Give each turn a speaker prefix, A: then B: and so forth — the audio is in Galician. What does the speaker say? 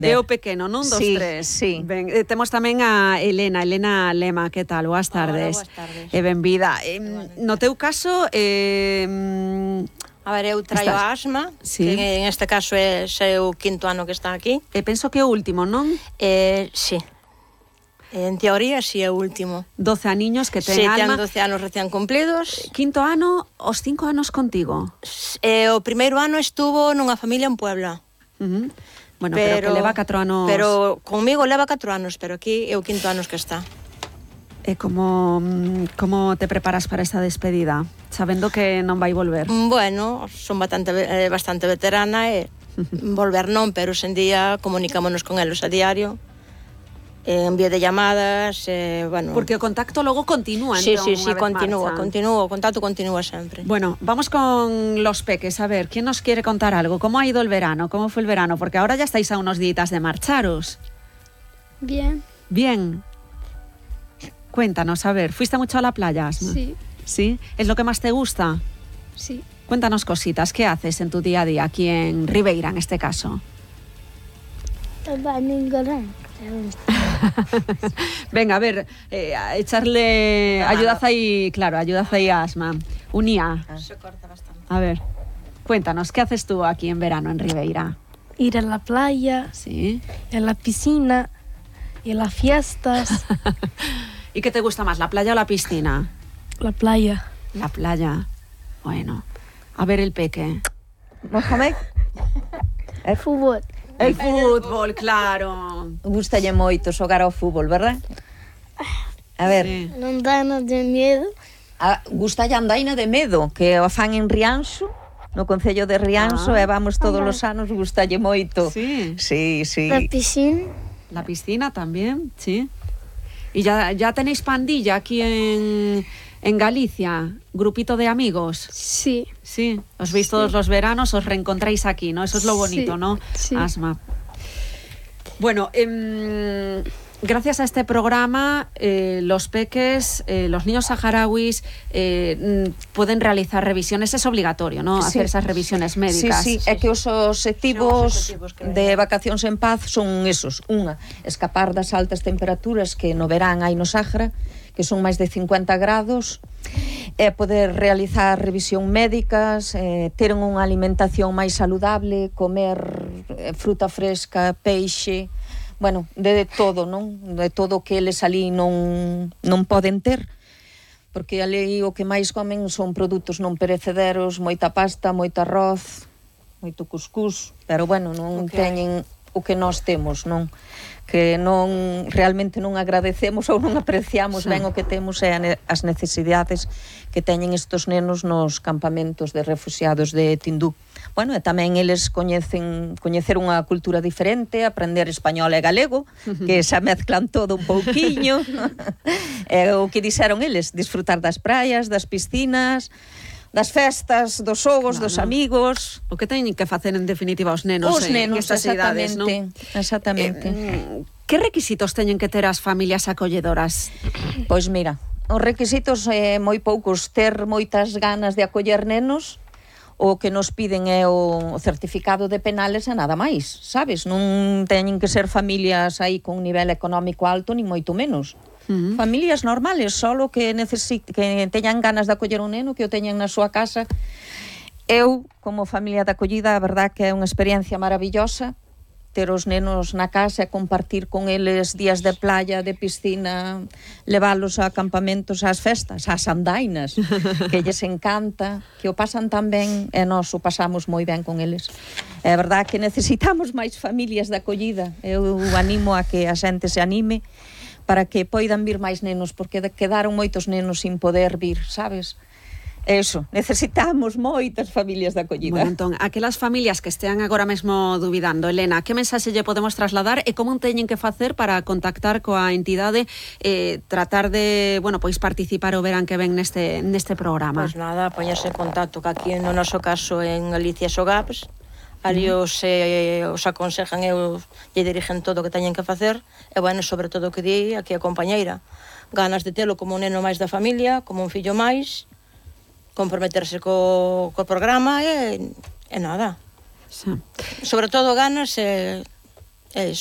A: É o pequeno, non? Dos tres.
B: Sí.
A: Ben, temos tamén a Elena Lema, que tal? Boas tardes.
C: Hola, boas tardes.
A: E benvida. No teu caso,
C: a ver, eu traio a asma,
A: sí,
C: que en este caso é o quinto ano que está aquí.
A: Penso que é o último, non?
C: Sí. En teoría, sí, é o último.
A: 12 aniños que ten Alma.
C: Sí, ten 12 anos recién cumplidos.
A: Quinto ano, os 5 anos contigo?
C: O primeiro ano estuvo nunha familia en Puebla.
A: Bueno, pero que leva 4 anos...
C: Pero conmigo leva 4 anos, pero aquí é o quinto anos que está.
A: E como te preparas para esta despedida, sabendo que non vai volver?
C: Bueno, son bastante veterana e volver non, pero hoxe en día comunicámonos con eles a diario, envío de llamadas, bueno...
A: Porque o contacto logo continúa,
C: sí,
A: entón,
C: sí, continúa, o contacto continúa sempre.
A: Bueno, vamos con los peques, a ver, ¿quién nos quiere contar algo? ¿Cómo ha ido el verano? ¿Cómo fue el verano? Porque ahora ya estáis a unos días de marcharos.
D: Bien.
A: Bien. Cuéntanos, a ver, ¿fuiste mucho a la playa, Asma?
D: Sí.
A: ¿Sí? ¿Es lo que más te gusta?
D: Sí.
A: Cuéntanos cositas, ¿qué haces en tu día a día aquí en Ribeira, en este caso? Venga, a ver, echarle... Ayudad ahí a Asma. Unía.
C: Se corta bastante.
A: A ver, cuéntanos, ¿qué haces tú aquí en verano en Ribeira?
D: Ir a la playa,
A: Sí.
D: a la piscina, y a las fiestas.
A: ¿Y qué te gusta más, la playa o la piscina?
D: La playa.
A: La playa. Bueno, a ver el peque.
B: Mohamed?
D: El fútbol.
A: El fútbol, claro.
B: Gustalle moito xogar ao fútbol, verdad? A ver,
A: Sí.
D: Non danos de miedo.
B: gustalle a andaina de medo, que o fan en Rianxo, no concello de Rianxo, e vamos todos os anos, gustalle moito.
A: Sí.
B: Sí, sí.
D: La piscina.
A: La piscina también, sí. ¿Y ya tenéis pandilla aquí en Galicia? ¿Grupito de amigos?
D: Sí.
A: Sí. Os veis todos los veranos, os reencontráis aquí, ¿no? Eso es lo bonito,
D: Sí,
A: ¿no?
D: sí.
A: Asma. Bueno, gracias a este programa, los peques, los niños saharauis pueden realizar revisiones. Es obligatorio, ¿no?
B: Sí.
A: Hacer esas revisiones médicas.
B: Sí, é que os obxectivos
C: que
B: de vacacións en paz son esos. Unha, escapar das altas temperaturas que no verán hai no Sáhara, que son máis de 50 grados, poder realizar revisión médicas, ter unha alimentación máis saludable, comer fruta fresca, peixe, bueno, de todo, non? De todo que eles ali non poden ter, porque ali o que máis comen son produtos non perecederos, moita pasta, moito arroz, moito cuscús, pero bueno, non teñen o que nós temos, non? Que non realmente non agradecemos ou non apreciamos ben o que temos e as necesidades que teñen estos nenos nos campamentos de refugiados de Tindú. Bueno, e tamén eles coñecer unha cultura diferente, aprender español e galego, que xa mezclan todo un pouquiño. E o que dixeron eles, disfrutar das praias, das piscinas, das festas, dos xogos, dos amigos.
A: O que teñen que facer en definitiva os nenos,
B: Os nenos,
A: en estas idades, non?
B: Exactamente.
A: Que requisitos teñen que ter as familias acolledoras?
B: Pois mira, os requisitos moi poucos, ter moitas ganas de acoller nenos. O que nos piden é o certificado de penales e nada máis, sabes? Non teñen que ser familias aí con un nivel económico alto, ni moito menos. Familias normales, solo que teñan ganas de acoller un neno, que o teñan na súa casa. Eu, como familia de acollida, a verdad que é unha experiencia maravillosa ter os nenos na casa e compartir con eles días de playa, de piscina, leválos a campamentos, ás festas, ás andainas, que lles encanta, que o pasan tan ben e nós o pasamos moi ben con eles. É verdad que necesitamos máis familias de acollida. Eu animo a que a xente se anime para que poidan vir máis nenos, porque quedaron moitos nenos sin poder vir, sabes? Eso, necesitamos moitas familias de acollida.
A: Bueno, entón, aquelas familias que estean agora mesmo dubidando, Elena, que mensaxe lle podemos trasladar e como teñen que facer para contactar coa entidade, tratar de, bueno, pois participar o verán que ven neste programa?
C: Pois nada, poñerse en contacto que aquí no noso caso en Galicia Sogaps, ali os aconsejan e lle dirigen todo o que teñen que facer, e bueno, sobre todo o que di aquí a compañeira, ganas de telo como un neno máis da familia, como un fillo máis, comprometerse co programa e nada.
A: Sí.
C: Sobre todo ganas e É